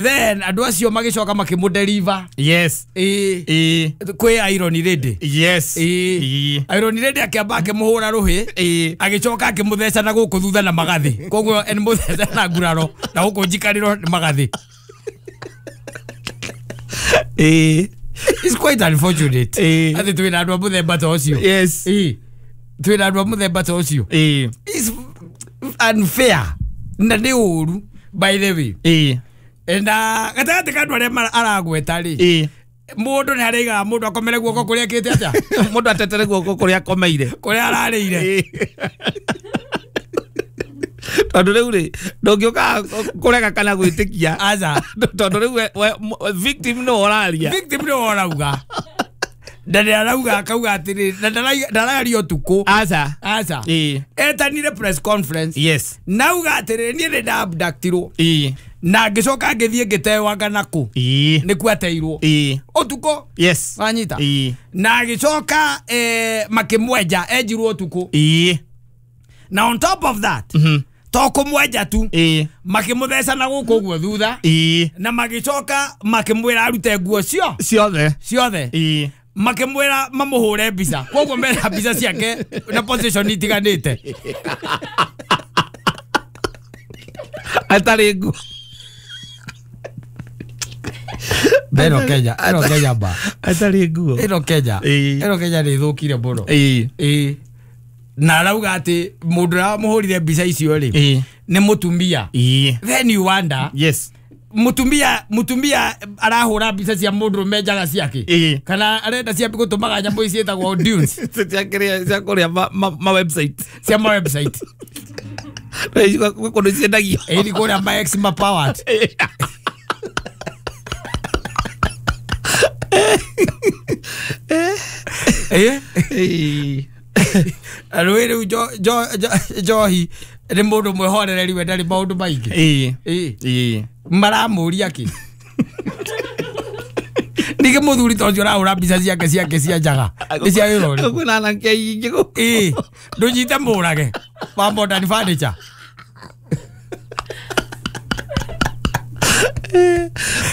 Then andũ acio magĩcoka makĩmũdeliver. Yes. Ĩĩ. Ĩĩ. Kwĩ Iron Lady. Yes. Ĩĩ. Ĩĩ. Iron Lady akĩamba akĩmũhũra rũhĩ. Ĩĩ. Agĩcoka akĩmũtheca na gũkũ thutha na magathĩ. Koguo nĩ mũtheca na nguraro na gũkũ njikarĩro nĩ magathĩ. Ĩĩ. It's quite unfortunate. Ĩĩ. Atĩ twĩna andũ a mũthemba ta ũcio. Yes. Ĩĩ. Twĩna andũ a mũthemba ta ũcio. Ĩĩ. It's unfair. Na nĩ ũru by the way. Ĩĩ. Na gatagatĩ ka andũ arĩa aragweta rĩ. Ĩĩ. Mũndũ nĩ araigaga mũndũ akomere guoko kũrĩa akĩte atĩa? Mũndũ atetere guoko kũrĩa akomeire. Kũrĩa ararĩire. Tondũ rĩu rĩ ndũngĩũka kũrega kana gwĩtĩkia. Aca. Tondũ rĩu victim nĩwe ũraria. Victim nĩwe ũrauga. Na nĩ arauga akauga atĩrĩ na ndararia ũtukũ. Aca. Aca. Ĩĩ. Etanire press conference. Yes. Nauga atĩrĩ niĩ nĩ ndaabductirwo. Ĩĩ. Na ngĩcoka ngĩthiĩ ngĩtewanga nakũ. Ĩĩ. Nĩkuo ateirwo. Ĩĩ. Ũtukũ. Yes. Wanyita. Ĩĩ. Na agĩcoka makĩmwenja enjirwo ũtukũ. Ĩĩ. Na on top of that, to kũmwenja tu. Ĩĩ. Makĩmũtheca na gũkũ ũguo thutha. Ĩĩ. Na magĩcoka makĩmwĩra arute nguo cio. Ciothe. Ciothe. Ĩĩ. Makĩmwĩra mamũhũre mbica. Koguo mena mbica ciake na position itiganĩte. Atarĩ nguo. Ĩno Kenya, ĩno Kenya ba. Atarĩ nguo. Ĩno Kenya. Ĩno Kenya nĩ ĩthũkire mũno. Ĩĩ. Ĩĩ. Na arauga atĩ mũndũ ũrĩa wamũhũrire mbica icio rĩ nĩ mũtumia. Ĩĩ. Then you wonder. Yes. Mũtumia arahũra mbica cia mũndũrũme njaga ciake. Ĩĩ. Kana arenda cia gũtũmaga nyamũ ici ciĩtagwo dunes. Cia kĩrĩa cia kũrĩa ma website. Cia ma website. Gwĩ kũndũ ciendagio. Ĩĩ nĩ kũrĩa ma ex ma powered. Ĩĩ. Ĩĩ. Rũĩ rĩu njohi nĩ mũndũ mwĩhorereri we ndarĩ maũndũ maingĩ. Ĩĩ. Ĩĩ. Ĩĩ. Maramũria kĩ? Ningĩ mũthuri ta ũcio ũrahũra mbica ciake ciake cia njaga. Nĩ cia wĩra ũrĩkũ? Kwĩna anake aingĩ gũkũ. Ĩĩ. Ndũnyite mũrage wa modern furniture.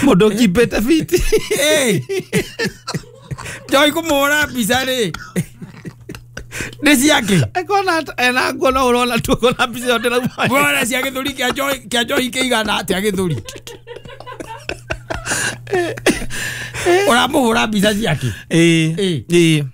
Mũndũ ũkimbĩte biti. Ĩĩ. Njohi kũmũhũra mbica rĩ. Nĩ ciake. Akona ena nguo no ũrona tu ũkona mbica ĩyo ndĩrauma. Bora cia gĩthũri kĩa njohi kĩigana atĩa gĩthũri? Ũramũhũra mbica ciake. Ĩĩ. Ĩĩ. Ĩĩ.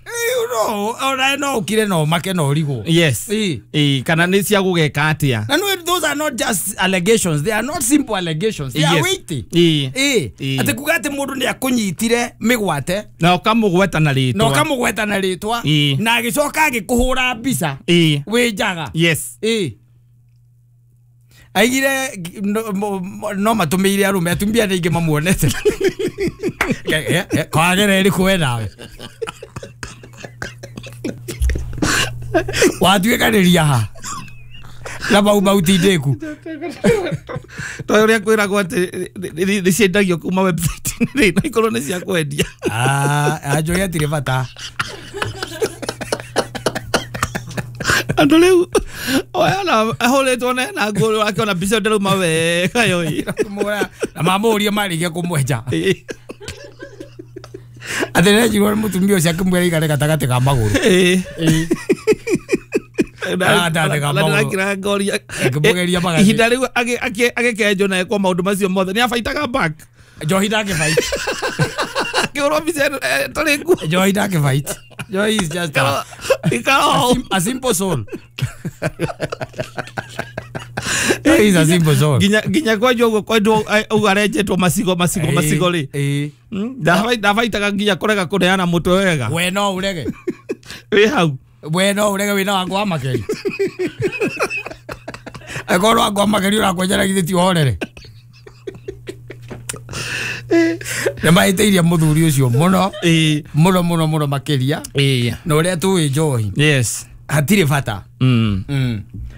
No, ona no ũkire no make no ũrigwo. Yes. Ĩĩ. Ĩĩ, kana nĩ cia gũgeka atĩa? Na no, those are not just allegations. They are not simple allegations. They are Yes. weighty. Ĩĩ. Ĩĩ. Ĩĩ. Atĩ kuga atĩ mũndũ nĩ akũnyitire mĩgwate. Na ũkamũgweta na rĩtwa. Na ũkamũgweta na rĩtwa. Ĩĩ. Na agĩcoka agĩkũhũra mbica. Ĩĩ. Wĩ njaga. Yes. Ĩĩ. Aigire no matũmĩire arũme atumia nĩ aingĩ mamuonete. Kwagera ĩrĩkũ we nawe? Watuĩkanĩria ha? Na mau mau tindĩku. Tondũ ũrĩa kwĩragwo atĩ nĩ ciendagio kuma website rĩ, no ikorwo nĩ cia kwendia. Njohi hatirĩ bata. Andũ rĩu ona ahũrĩtwo na nguo akĩona mbica ĩyo ndĩrauma wega yoi. Na mamũria marĩkia kũmwenja. Atĩ nĩenjirwo nĩ mũtumia ũcio akĩmwĩra aikare gatagatĩ ka magũrũ. Ĩĩ. Ĩĩ. Gatagatĩ ka magũrũ. Ndĩrakira ngoria. Akĩmũgeria magathĩ. Ihinda rĩu agĩkenjwo na ekwo maũndũ macio mothe nĩ abaitaga back. Njohi ndangĩbait. Akĩhũrwo mbica ĩno ĩtarĩ nguo. Njohi ndangĩbait. Njohi is just a simple soul. Njohi is a simple soul. Nginya kwenjwo ũguo kwenjwo ũguo arenjetwo macigo macigo macigo rĩ. Ĩĩ. Ndabaitaga nginya kũrega kũneana mũtwe wega. We no ũrege. Wĩ hau. We no ũrege wĩna wangu wa makeri. Angĩkorwo wangu wa makeri ũrakwenjera githĩ ti ũhorere. Nĩ mahĩtĩirie mũthuri ũcio mũno. Ĩĩ. Mũno mũno mũno makĩria. Ĩĩ. Na ũrĩa tũĩ njohi. Yes. Hatirĩ bata.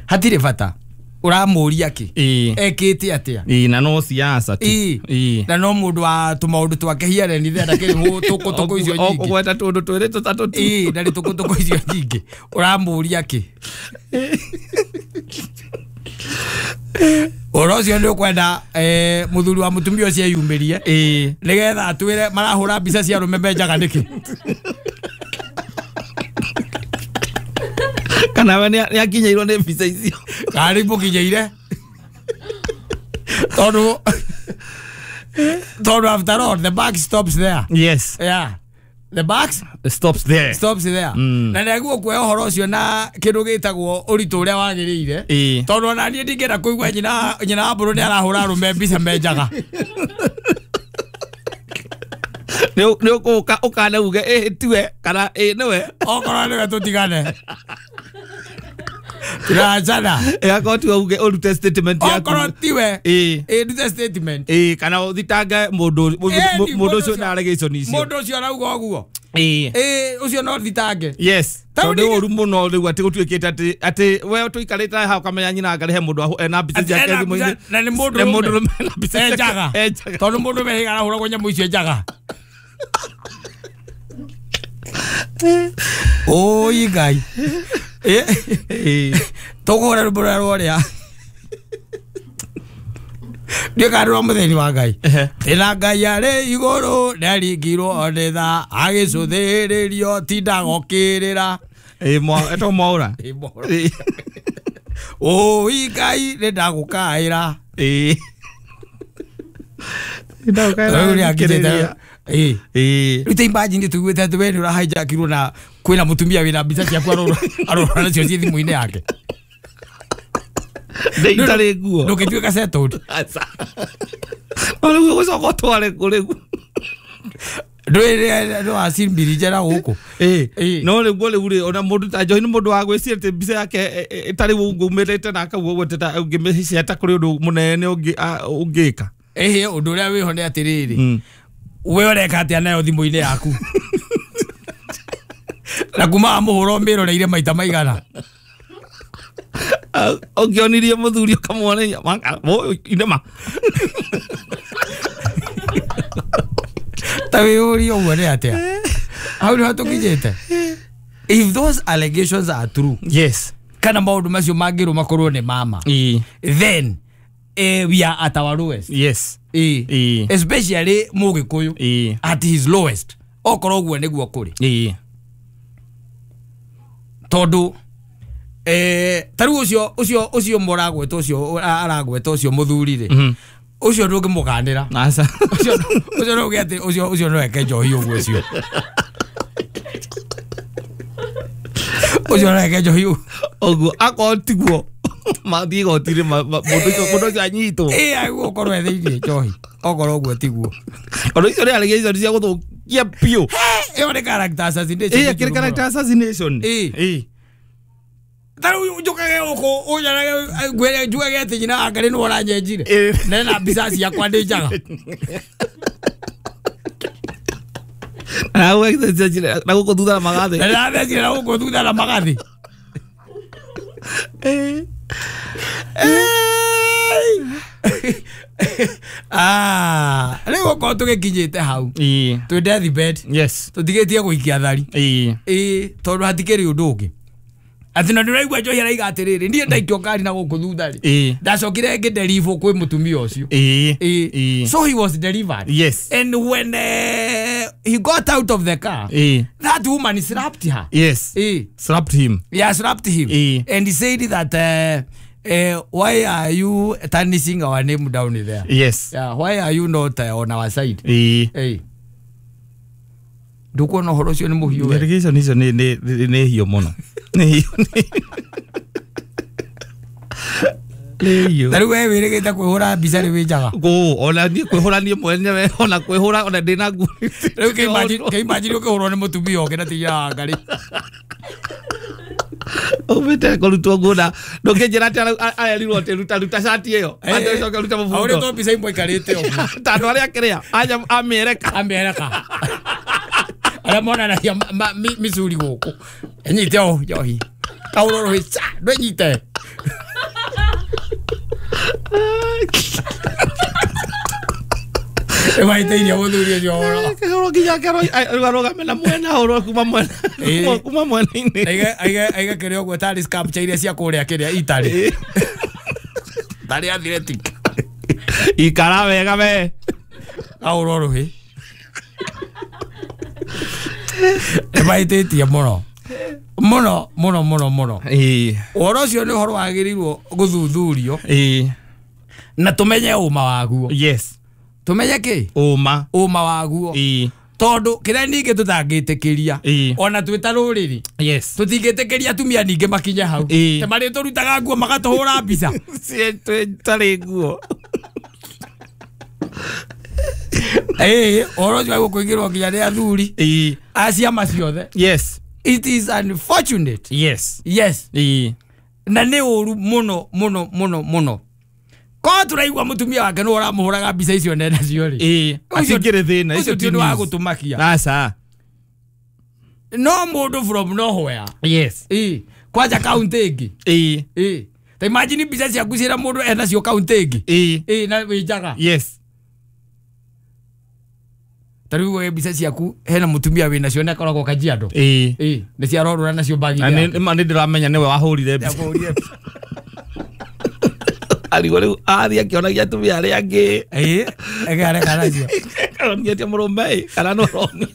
Hatirĩ bata. Ũramũria kĩ? Ĩĩ. Ekĩte atĩa? Ĩĩ, na no siasa tu. Ĩĩ. Ĩĩ. Na no mũndũ wa tũmaũndũ twake hiareni there ndakĩrĩ tũkũtũkũ icio nyingĩ. Ũgweta tũndũ twĩrĩ tũtatũ tu. Ĩĩ, ndarĩ tũkũtũkũ icio nyingĩ. Ũramũria kĩ? Ũhoro ũcio nĩ ũkwenda mũthuri wa mũtumia ũcio eyumĩrie nĩgetha atwĩre marahũra mbica cia arũme menjaga nĩkĩ. Kana we nĩ akinyĩirwo nĩ mbica icio. Kana nĩ imũkinyĩire. Tondũ after all the buck stops there. Yes. Yeah. The buck stops there. Stops there. Na nĩguo kuoya ũhoro ũcio na kĩndũ gĩtagwo ũritũ ũrĩa wagĩrĩire. Tondũ ona niĩ ndingĩenda kũigua nyina wa mbũrũ nĩ arahũra arũme mbica menjaga. Nĩ ũgũka ũkane uge ĩ tiwe kana ĩ nĩwe. Okorwo nĩwe tũtigane. Tũrachana. Akorwo tiwe uge ũrute statement yaku. Okorwo tiwe ĩ ndute statement. Ĩ kana ũthitange mũndũ ũcio na allegation icio. Mũndũ ũcio arauga ũguo. Ĩ ũcio no thitange. Yes. Tondũ nĩ ũru mũno rĩu atĩ gũtuĩkĩte atĩ we tũikarĩte haha ũkamenya nyina ngarĩ he mũndũ ena mbica ciake thimũ-inĩ. Na nĩ mũndũ ena mbica enjaga. Tondũ mũndũ mehiga arahũragwo nyamũ icio njaga. Oi Ngai. Tũkũhũra rwĩmbo rũrĩa rworĩa. Ndiũĩ kana rwa mũthĩni wa Ngai. Tĩna Ngai arĩ igũrũ nĩaringirwo nĩ tha agĩcũthĩrĩrio tindagokĩrĩra. Etagwo Mwaũra. Oi Ngai nĩndagũkaĩra. Nĩndagũkaĩra. Rĩu ta imagine tũiguĩte atĩ we nĩ ũrahijackirwo na kwĩna mũtumia wĩna mbica ciaku arorora nacio ciĩ thimũ-inĩ yake. Ndĩ itarĩ nguo. Ndũngĩtuĩka settled. No rĩu ũgũcoka ũtware kũ rĩu? Ndũĩ nĩwacimbiri njera gũkũ. No rĩu rĩu rĩ ona mũndũ ta Njohi nĩ mũndũ wa gwĩciria atĩ mbica yake ĩtarĩ ũngĩumĩrĩte na akauga ũguo ũngĩmĩciata kũrĩ ũndũ mũnene ũngĩka. Ĩhĩ ũndũ ũrĩa wĩho nĩ atĩrĩrĩ we ũreka atĩa nayo thimũ-inĩ yaku. Na kuma amũhũra ũmĩroreire maita maigana. Ũngĩonirie mũthuri ũkamwonia inema. Ta wĩyũrie ũguo nĩ atĩa. Hau nĩho tũkinyĩte. If those allegations are true. Yes. Kana maũndũ macio mangĩrwo makorwo nĩ mama. Then we are at our lowest. Yes. Especially Mũgĩkũyũ at his lowest. Okorwo ũguo nĩguo kũrĩ. Tondũ ta rĩu ũcio mũragweta ũcio aragweta ũcio mũthuri rĩ ũcio ndũngĩmũkanĩra. Ũcio ndũngĩ atĩ ũcio no eke njohi ũguo ũcio. Ũcio no eke njohi ũguo akorwo tiguo mathiĩ igoti-inĩ mũndũ ũcio anyitwo. Ĩ agũkorwo e thĩiniĩ njohi okorwo ũguo tiguo. Tondũ icio nĩ allegations cia gũthũkia biũ. Ĩyo nĩ character assassination. Ĩ akĩrĩ character assassination. Ĩ ta rĩu njũkage gũkũ ũnjarage ngwĩre njugage atĩ nyina wa Ngarĩ nĩwe ũranyenjire. Na ena mbica ciakwa ndĩ njaga. Na gũkũ thutha na magathĩ. Na ndathecire na gũkũ thutha na magathĩ. Rĩu okorwo tũgĩkinyĩte hau twĩ deathbed. Yes. Tũtigĩtie gũikia thari. Tondũ hatikĩrĩ ũndũ ũngĩ. Atĩ na ndĩraigua Njohi araiga atĩrĩrĩ niĩ ndaikio ngari na gũkũ thutha rĩ ndacokire ngĩdeliver kwĩ mũtumia ũcio. So he was delivered. Yes. And when he got out of the car, that woman slapped her. Yes. Slapped him. Yeah, slapped him. And he said that why are you tarnishing our name down there? Yes. Yeah, why are you not on our side? Ndukuona ũhoro ũcio nĩ mũhiũ we. Allegation icio nĩ hiũ mũno. Nĩ hiũ. Ta rĩu we wĩrĩgĩte kwĩhũra mbica rĩ wĩ njaga. Ona niĩ kwĩhũra niĩ mwenyewe ona kwĩhũra ona ndĩna nguo. Rĩu kĩimagine ũkĩhũrwo nĩ mũtumia ũngĩ na ti nyina wa Ngarĩ. Umĩte kũrutwo nguo na ndũngĩnjĩra atĩ arerirwo atĩ ruta ruta cati ĩyo atĩ ũcoke ũrute mũbuto. Ahũrĩtwo mbica imwe aikarĩte ũguo. Ta andũ arĩa kĩrĩa amĩereka. Amĩereka. Arĩa monanagia micuri gũkũ. Ĩnyite ũũ Njohi. Kahũrwo rũhĩ ca ndwĩnyite. Ĩmahĩtĩirie mũthuri ũcio ũhoro. Kĩhũrwo nginya arũgame na mwena ahũrwo kuma mwena kuma mwena-inĩ. Aige kĩrĩa ũguo tarĩ sculpture iria cia kũrĩa kĩrĩa Italy. Tarĩ athletic. Ikara wega we. Kaũrwo rũhĩ. Nĩmahĩtĩtie mũno. Mũno mũno mũno mũno. Ũhoro ũcio nĩ ũhoro wagĩrĩirwo gũthuthurio. Na tũmenye ũma waguo. Yes. Tũmenye kĩ? Ũma. Ũma waguo. Tondu kĩrĩa ningĩ tũtangĩtĩkĩria ona twĩ ta rũrĩrĩ. Yes. Tũtingĩtĩkĩria atumia ningĩ makinye hau. Te marĩ tũrutaga nguo magatũhũra mbica. Tarĩ nguo. Ũhoro ũcio wa gũkũingĩrwo nginya nĩ athuri. A ciama ciothe. Yes. It is unfortunate. Yes. Yes. Na nĩ ũru mũno mũno mũno mũno. Korwo tũraigua mũtumia wake nĩwe ũramũhũraga mbica icio nene cio rĩ. Atingĩrĩ thĩna, Ũcio icio ti ũndũ wa gũtũmakia. Aca. No mũndũ from nowhere. Yes. Kwanja kaunti ĩngĩ. Ta imagine mbica ciaku ciĩna mũndũ enacio kaunti ĩngĩ. Na wĩ njaga. Yes. Ta rĩu we mbica ciaku hena mũtumia wĩ nacio na akoragwo Kajiado. Nĩ ciarorũra nacio mbagi. Na nĩ ndĩramenya nĩwe wahũrire mbica. Arigwo rĩu athiĩ akĩonagia atumia arĩa angĩ. Areka nacio. Aronia mũrũme kana nĩ ũronia.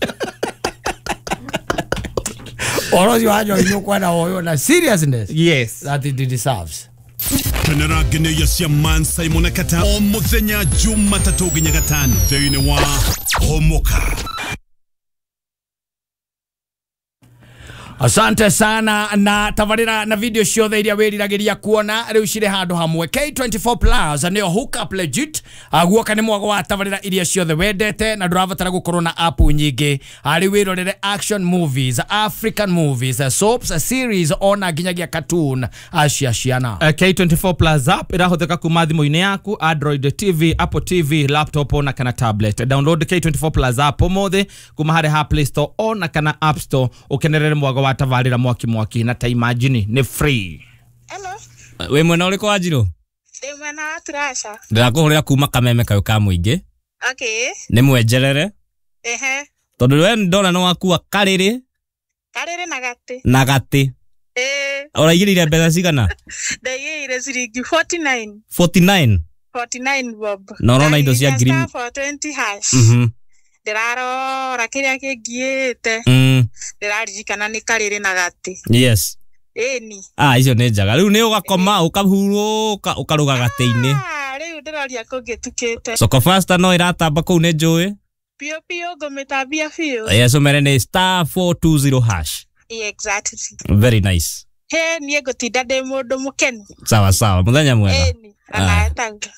Ũhoro ũcio wa njohi nĩ ũkwenda woywo na seriousness. Yes. That it deserves. Kenera ngeneia cia Man Simon Kata o muthenya Jumatatũ nginya Gatano thĩinĩ wa Homoka. Asante sana na tabarira na video ciothe iria wiriragiria kuona riu cire handu hamwe. K24 Plus nio hook up legit. Guoka ni mwago wa tabarira iria ciothe wendete na ndurabatara gukorwo na app nyingi. Ari wirorere action movies, African movies, soaps, series ona nginyagia cartoon acia ciana. K24 Plus app irahuthika kuma thimu-inĩ yaku, Android TV, Apple TV, laptop ona kana tablet. Download K24 Plus app umuthi kuma hari ha Play Store ona kana App Store ukenerere mwago wa tabarira mwaki mwaki na ta imagine ni free. Hello. We mwena ũrĩkũ wa Njirũ? Ndĩ mwena wa Turasha. Ndĩrakũhũrĩra kuma Kameme kayũ ka mũingĩ. Okay. Nĩ mwenjerere. Ehe. Tondũ we ndona nĩ wakua karĩrĩ. Karĩrĩ na gatĩ. Na gatĩ. Ũraigĩrĩire mbeca cigana? Ndaigĩrĩire ciringi 49. 49. 49 bob. Na ũrona indo cia ngiri 420 hash. Ndĩrarora kĩrĩa kĩngiĩte. Ndĩraririkana nĩ karĩrĩ na gatĩ. Yes. Ĩni. Icio nĩ njega. Rĩu nĩ ũgakoma ũkahurũka ũkaruga gatĩ-inĩ. Rĩu ndĩroria kũngĩtukĩte. Soko Fasta no ĩratamba kũu nĩ njũĩ. Biũ biũ ngũmĩtambia biũ. Yes, ũmere nĩ star 420 hash. Exactly. Very nice. He niĩ ngũtinda ndĩ mũndũ mũkenu. Sawa sawa, mũthenya mwega. Ĩni. Anaetaga.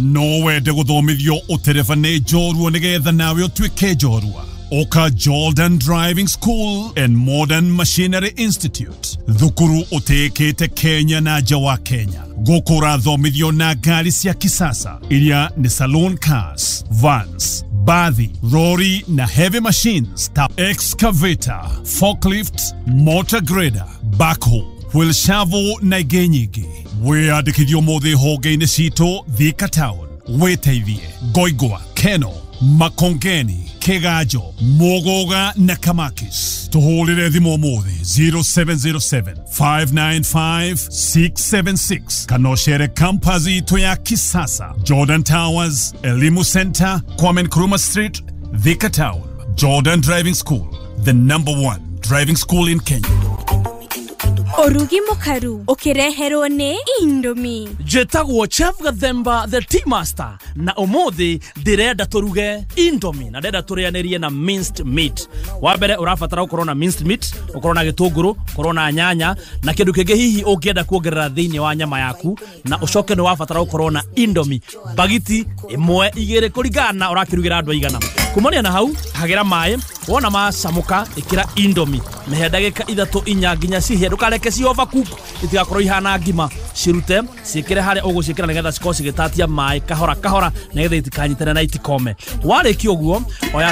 No wende gũthomithio ũtereba nĩ njorua nĩgetha nawe ũtuĩke njorua. Oka Jordan Driving School and Modern Machinery Institute. Thukuru ũtĩĩkĩte Kenya na nja wa Kenya. Gũkũ ũrathomithio na ngari cia kisasa iria nĩ saloon cars, vans, bathi, lorry na heavy machines ta excavator, forklift, motor grader, backhoe, wheel shovel na ingĩ nyingĩ. Wĩyandĩkithio ũmũthĩ honge-inĩ citũ Thika Town, Wĩteithie, Ngoingwa, Keno, Makongeni, Kigajo, Mugoga na Kamakis. Tuhũrĩre thimũ ũmũthĩ 0707 595 676 kana ũcere campus itũ ya kisasa, Jordan Towers, Elimu Center, Kwame Nkrumah Street, Thika Town. Jordan Driving School, the number one driving school in Kenya. Ũrugi mũkaru ũkĩreherwo nĩ Indomie. Njĩtagwo Chef Gathemba the Tea Master na ũmũthĩ ndĩrenda tũruge Indomie na ndĩrenda tũrĩanĩrie na minced meat. Wa mbere ũrabatara ũkorwo na minced meat, ũkorwo na gĩtũngũrũ, ũkorwo na nyanya na kĩndũ kĩngĩ hihi ũngĩenda kuongerera thĩinĩ wa nyama yaku, na ũcoke nĩ wabatara ũkorwo na Indomie bagiti ĩmwe igĩrĩ kũringana na ũrakĩrugĩra andũ aigana. Kumania na hau hagĩra maĩ, wona macamũka ĩkĩra Indomie mĩhe ndagĩka 3 4 nginya cihĩe, ndũkareke ci overcook itigakorwo ihana ngima, cirute ciĩkĩre harĩa ũgũciĩkĩra nĩgetha cikorwo cigĩtatia maĩ kahora kahora nĩgetha itikanyitane na itikome. Warĩkia ũguo oya